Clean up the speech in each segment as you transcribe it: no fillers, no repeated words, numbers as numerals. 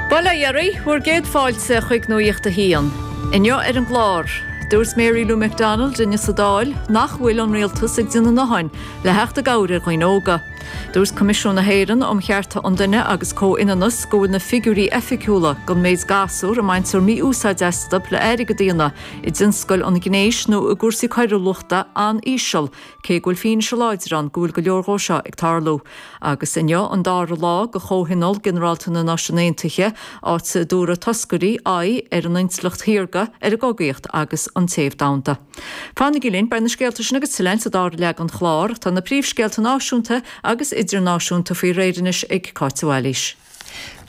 Bail ó Dhia oraibh, bhur gcéad fáilte chuig Nuacht a hAon. Inniu ar an gclár, dúirt Mary Lou McDonald inniu sa Dáil nach bhfuil an rialtas ag déanamh a ndóthain le theacht i gcabhair ar dhaoine óga. Dúirt Coimisiún na hÉireann um Chearta an Duine agus Comhionannas go bhfuil na figiúirí oifigiúla don méid gasúr a mbaintear mí-úsáid astu le airgead a dhéanamh i dtionscail an ghnéis nó i gcúrsaí coiriúlachta an-íseal cé go bhfuil fianaise láidir ann go bhfuil go leor dhó seo ag tarlú. Agus inniu an dara lá de Chomhthionól Ginearálta na Náisiún Aontaithe, áit a dtabharfaidh toscairí aghaidh ar an intleacht shaorga, ar an gcogaíocht agus an téamh domhanda. Fanaigí linn, beidh na scéalta sin agus tuilleadh sa dara leath den chlár. Tá na príomhscéalta náisiúnta agus idirnáisiúnta faoi réir anois ag Cáit de Bhailís.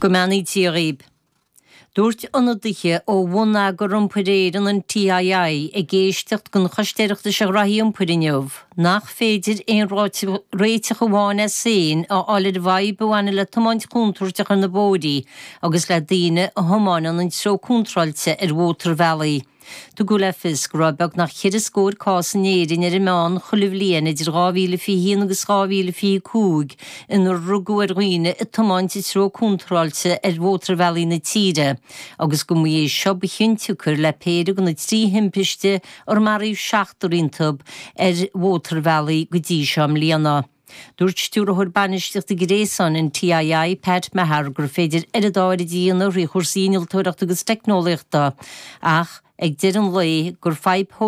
Go mbeannaí Dia dhaoib. Dúirt ionadaithe ó Bhonneagar Iompair Éireann, an TII, ag éisteacht don Choiste Oireachtais ar Ghraithí Iompair inniu nach féidir aon réiteach amháin as féin a fháil ar an bhfadhb a bhaineann le tiomáint chontúirteach ar na bóithrí agus le daoine a thiomáineann an treo contráilte ar mhótarbhealaí. Tugadh le fios go raibh beagnach cheithre scór cás in Éirinn ar an meán chuile bhliain idir 2021 agus 2025 inar rugadh ar dhaoine ag tiomáint an treo contráilte ar mhótarbhealaí na tíre agus go mba é seo ba chionsiocair le péire de na trí thimpiste ar maraíodh seachtar iontu ar mhótarbhealaí go dtí seo i mbliana. Dúirt Stiúrthóir Bainistíochta Gréasáin an TII, Pat Meagher, gur féidir oiread áirid a dhéanamh thrí chúrsaí innealtóireachta agus teicneolaíochta ach, ag deireadh an lae, gur fadhb.